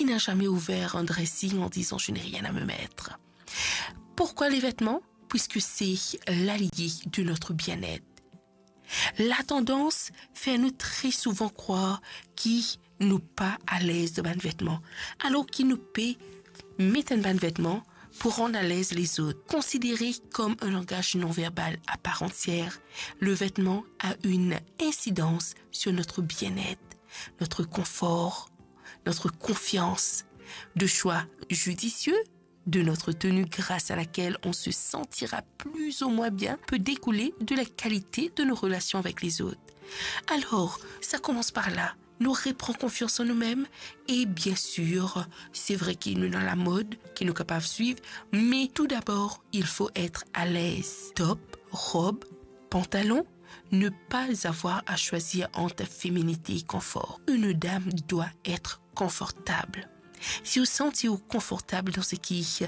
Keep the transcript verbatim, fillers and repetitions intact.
Il n'a jamais ouvert un dressing en disant : « Je n'ai rien à me mettre. » Pourquoi les vêtements ? Puisque c'est l'allié de notre bien-être. La tendance fait nous très souvent croire ki nou pa alez dan bann vetman, alor ki nou pe met enn bann vetman pou rann alez lezot. Considéré comme un langage non verbal à part entière, le vêtement a une incidence sur notre bien-être, notre confort, notre confiance. De choix judicieux de notre tenue grâce à laquelle on se sentira plus ou moins bien peut découler de la qualité de nos relations avec les autres. Alors, ça commence par là. Nou repran konfians an noumem e, bien sir, se vre ki nou dan lamod ki nou kapav swiv, me tou dabor, il faut être à l'aise. Top, rob, pantalon, ne pas avoir à choisir entre féminité et confort. Une dame doit être confortable. Si ou santi ou konfortab dan seki